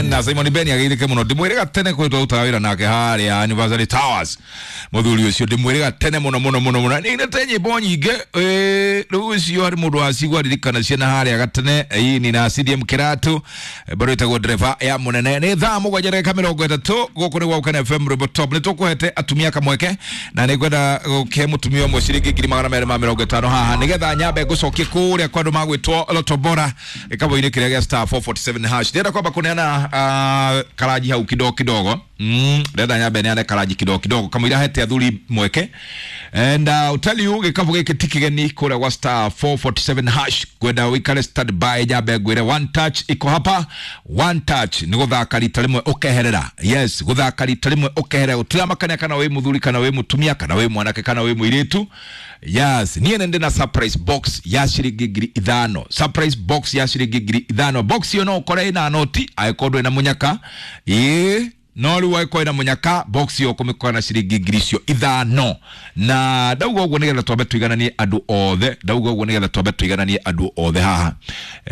Ben na Simon Ben ageithĩke mũno. Ndĩmwĩrĩga tene kũrĩ twarutaga wĩra nake harĩa Anniversary Towers. Mũthuri ũcio ndĩmwĩrĩga tene mũno mũno mũno mũno. Nĩinĩte nyĩmbo nyingĩ. Rĩu ũcio harĩ mũndũ wacigua ririkana ciana harĩa gatene. Ĩĩ na CDM Kĩratũ bado ĩtagwo ndereba ya mũnene. Nĩ thaa 7:30 gũkũ nĩ Waukene FM Rwĩmbo Top. Nĩ tũkũhete atumia kamweke na nĩ ngwenda gũkĩhe mũtumia ũmwe ciringi 250,000 haha nĩgetha nyambe ngũcokie kũrĩa kwa andũ magwĩtwo Loto Bora gĩkabũ-inĩ kĩrĩa gĩa star 447 hash. Ndĩrenda kwamba kũneana karaji hau kidogo kidogo. Ndĩrenda nyambe neane karaji kidogo kidogo kamũira hete athuri mweke. And I'll tell you gĩkabũ gĩkĩ ti kĩgeni kũrĩa gwa star 447 hash. Ngwenda ũikare stand by nyambe ngwĩre one touch iko hapa. One touch nĩ gũthaka rita rĩmwe ũkeherera. Yes, gũthaka rita rĩmwe ũkeherera. Gũtiramakania kana wĩ mũthuri kana wĩ mũtumia kana wĩ mwanake kana wĩ mũirĩtu. Yes, niĩ nĩ ndĩ na surprise box ya ciringi 5,000. Surprise box ya ciringi 5,000. Box ĩyo no ũkore ĩna noti angĩkorwo ndũrĩ na mũnyaka. Ĩĩ no rĩu angĩkorwo ĩna mũnyaka box ĩyo ũkũmĩkora na ciringi 5,000. Na ndauga ũguo nĩgetha twambe tũigananie andũ othe. Ndauga ũguo nĩgetha twambe tũigananie andũ othe haha.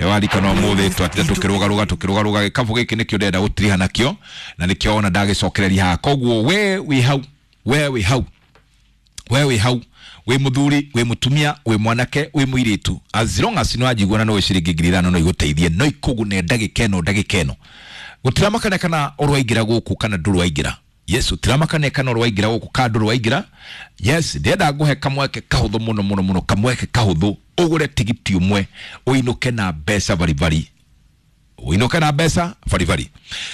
Warikana ũmũthĩ twatinda tũkĩrũgarũga tũkĩrũgarũga gĩkabũ gĩkĩ nĩkĩo ndĩrenda gũtiriha nakĩo na nĩkĩo ona ndagĩcokereria haha. Koguo we wĩ hau, we wĩ hau, we wĩ hau, wĩ mũthuri, wĩ mũtumia, wĩ mwanake, wĩ mũirĩtu, as long as nĩ wanjigua na no ciringi 5,000 no igũteithie, no ikũgune ndagĩka ĩno ndagĩka ĩno. Gũtiramakania kana ũrwaingĩra gũkũ kana ndũrwaingĩra. Yes, gũtiramakania kana ũrwaingĩra gũkũ kana ndũrwaingĩra. Yes, ndĩrenda ngũhe kamweke kahũthũ mũno mũno mũno, kamweke kahũthũ ũgũre tigiti ũmwe ũinũke na mbeca baribari. Ũinũke na mbeca baribari.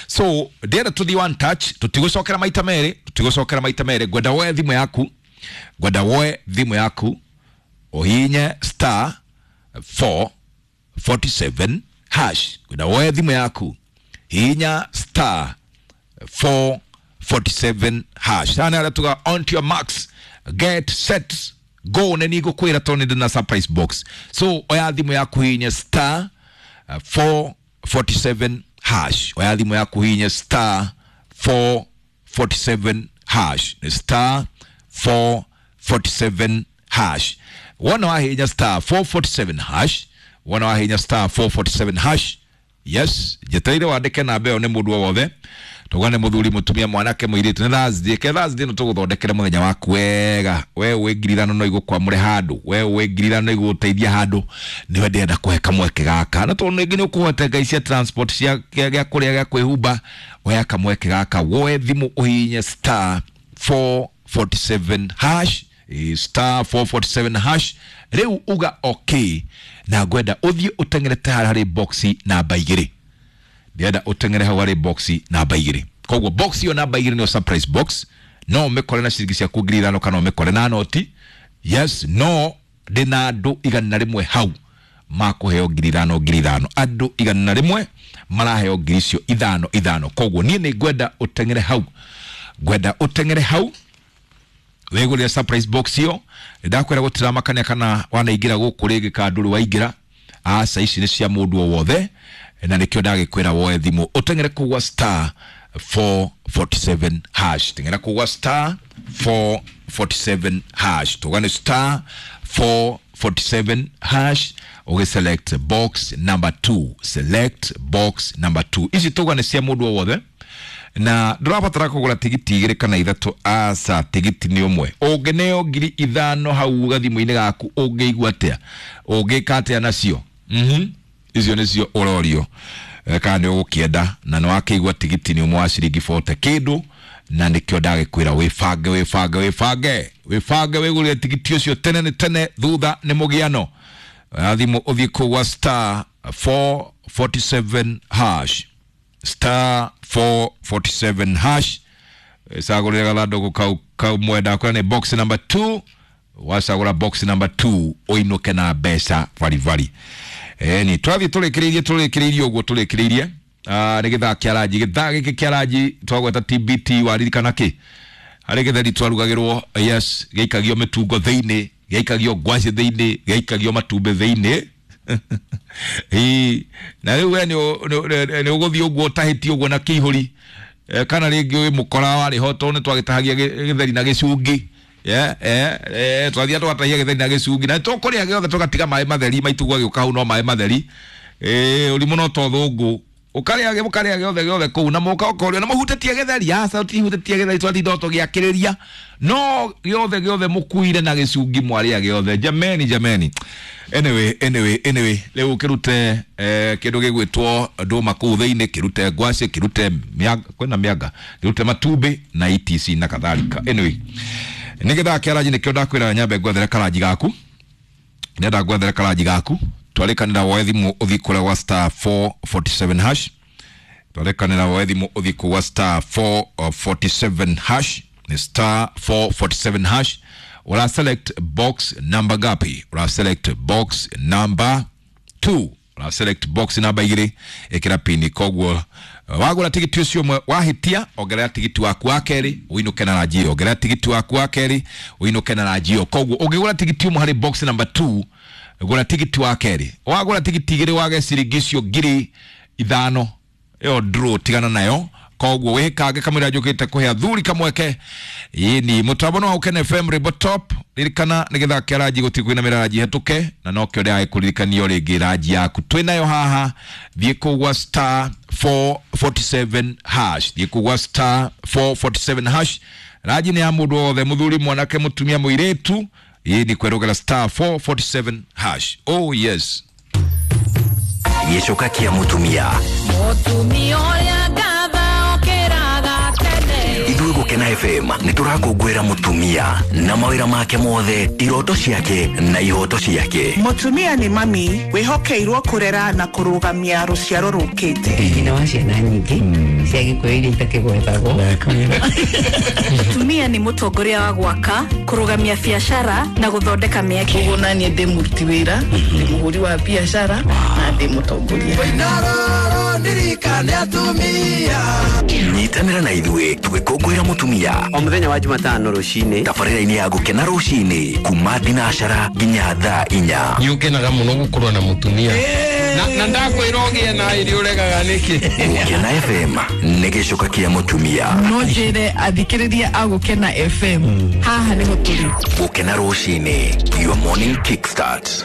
So ndĩrenda tũthiĩ one touch, tũtigũcokera maita merĩ, tũtigũcokera maita merĩ. Ngwenda woe thimũ yaku, ngwenda woe thimũ yaku ũhihinye star 447 hash. Ngwenda woe thimũ yaku hihinya star 447 hash. Sana arĩa tuga on to your marks, get set, go. Nĩ nĩngũkwĩra tondũ nĩ ndĩ na surprise box. So oya thimũ yaku hihinya star 447 hash. Oya thimũ yaku hihinya star 447 hash. Nĩ star 447 hash. Wona wahihinya star 447 hash, wona wahihinya star 447 hash. Yes, njetereire wandĩke namba ĩyo nĩ mũndũ o wothe. Tuga nĩ mũthuri, mũtumia, mwanake, mũirĩtu. Nĩ Thursday, ke Thursday no tũgũthondekere mũthenya waku wega. We wĩ 5,000 no igũkwamũre handũ, we wĩ 5,000 no igũgũteithia handũ. Nĩwe ndĩrenda kũhe kamweke gaka, na tondũ rĩngĩ nĩ ũkũhota ngai cia transport cia gĩa kũrĩa gĩa kwĩhumba, oya kamweke gaka, woe thimũ ũhihinye star 447 hash, star 447 hash. Rĩu uga okay, na ngwenda ũthiĩ ũteng'erete harĩa harĩ boxi namba 2. Ndĩrenda ũteng'ere hau harĩ boxi namba 2. Koguo box ĩyo namba 2 nĩyo surprise box. No ũmĩkore na ciringi ciaku 5,000 kana ũmĩkore na noti. Yes, no ndĩna andũ 100 hau makũheo 5,000 5,000. Andũ 100 maraheo ngiri icio 5 5. Koguo niĩ nĩ ngwenda ũteng'ere hau, ngwenda ũteng'ere hau wĩgũrĩre surprise box ĩyo. Ndakwĩra gũtiramakania kana wanaingĩra gũkũ rĩngĩ kana ndũrĩ waingĩra. Aca, ici nĩ cia mũndũ o wothe, na nĩkĩo ndagĩkwĩra woe thimũ ũteng'ere kũu gwa star 447 hash. Teng'era kũu gwa star 447 hash. Tuga nĩ star 447 hash, ũgĩ select box number 2. Select box number 2. Ici tuga nĩ cia mũndũ o wothe, na ndũrabatara kũgũra tigiti 2 kana 3. Aca, tigiti nĩ ũmwe. Ũngĩneo 5,000 hau gathimũ-inĩ gaku ũngĩigua atĩa? Ũngĩka atĩa nacio? Icio nĩcio ũrorio kana nĩ ũgũkĩenda, na nĩ wakĩigua tigiti nĩ ũmwe wa ciringi 40 kĩndũ, na nĩkĩo ndagĩkwĩra wĩbange wĩbange wĩbange wĩbange wĩgũrĩre tigiti ũcio tene nĩ tene, thutha nĩ mũgiano. Oya thimũ ũthiĩ kũu gwa star 447 hash, star 447 hash. Cagũrĩre gathandũkũ kau kamwe, ndakwĩra nĩ box number 2. Wacagũra box number 2 ũinũke na mbeca baribari. Ni twathiĩ tũrĩkĩrĩirie tũrĩkĩrĩirie ũguo tũrĩkĩrĩirie. Nĩ gĩthaa kĩa ranji, gĩthaa gĩkĩ kĩa ranji twagweta TBT, waririkana kĩ? Harĩ gĩtheri twarugagĩrwo, yes, gĩaikagio mĩtungo thĩinĩ, gĩaikagio ngwacĩ thĩinĩ, gĩaikagio matumbĩ thĩinĩ. Na rĩu we nĩ ũgũthiĩ ũguo ũtahĩtie ũguo na kĩihũri, kana rĩngĩ wĩ mũkora warĩ ho tondũ nĩ twagĩtahagia gĩtheri na gĩcungi. Twathiaga tũgatahia gĩtheri na gĩcungi, na tũkũrĩa gĩothe tũgatiga maĩ matheri, maitũ gwagĩũka hau no maĩ matheri. Ũrimũ no to thũngũ. Ukaria mukaria giothe giothe kuu na muka ukorio na muhutetie githeri aca utihutetie githeri twatinda tugiakiriria no giothe giothe mukuire na gicungi mwaria giothe jameni jameni. Anyway riu kirute kindu gigwitwo nduma kuu thiini, kirute ngwaci, kirute mianga, kwina mianga, kirute matumbi na etc na kadhalika. Anyway, nigetha kiaranji nikio ndakwira nyambe ngwethere karanji gaku, ndenda ngwethere karanji gaku twarikanira woe thimu uthi kuria gwa star 447 hash, twarikanira woe thimu uthi kwa star 447 hash, ni star 447 hash. Ura select box number gapi? Ura select box number 2, ura select box number 2, ikira pini. Koguo wagura tigiti ucio mwe wahitia, ongerera tigiti waku wa keri uinuke na ranji, ongerera tigiti waku wa keri uinuke na ranji. Koguo ungigura tigiti umwe hari box number 2, gura tigiti wa keri, wagura tigiti igiri wage ciringi icio 5,000 iyo draw tigana nayo. Koguo wikange kamwira njukite kuhe athuri kamweke ini mutambo no Ukene FM Ribbo Top. Ririkana nigetha kiaranji gutikwina miraranji hetuke na nokio ndirae kuririkanio ringi ranji yaku twinayo haha. Thiĩ kũu gwa star 447 hash, thiĩ kũu gwa star 447 hash. Ranji nĩ ya mũndũ wothe, mũthuri, mwanake, mũtumia, mũirĩtu. Ĩĩ ni kwerogera star 447 hash. Oh yes. Gĩcoka kĩa mũtumia. Mũtumia ũrĩa ngatha okĩraga tene. Ithuĩ Gũkena FM nĩ tũrakũngũĩra mũtumia na mawĩra make mothe, iroto ciake na ihoto ciake. Mũtumia nĩ mami wĩhokeirwo kũrera na kũrũgamia rũciaro rũkĩte. Nyina wa ciana nyingĩ cia Gĩkũyũ iria itakĩgwetagwo. Mũtumia nĩ mũtongoria wa gwaka, kũrũgamia biacara na gũthondeka mĩeke. Koguo naniĩ ndĩ mũruti wĩra, ndĩ mũhũri wa biacara na ndĩ mũtongoria. Nyitanĩra na ithuĩ tũgĩkũngũĩra mũtumia o mũthenya wa Jumatano rũcinĩ, tabarĩra-inĩ ya Gũkena rũcinĩ kuma thinacara nginya thaa 4. Nĩ ũkenaga mũno gũkorwo na mũtumia na ndakwĩra ũgĩe na irio ũregaga nĩkĩ. Gũkena FM nĩ gĩcoka kĩa mũtumia. No njĩre athikĩrĩria a Gũkena FM haha nĩho tũrĩ. Gũkena rũcinĩ, your morning kickstart.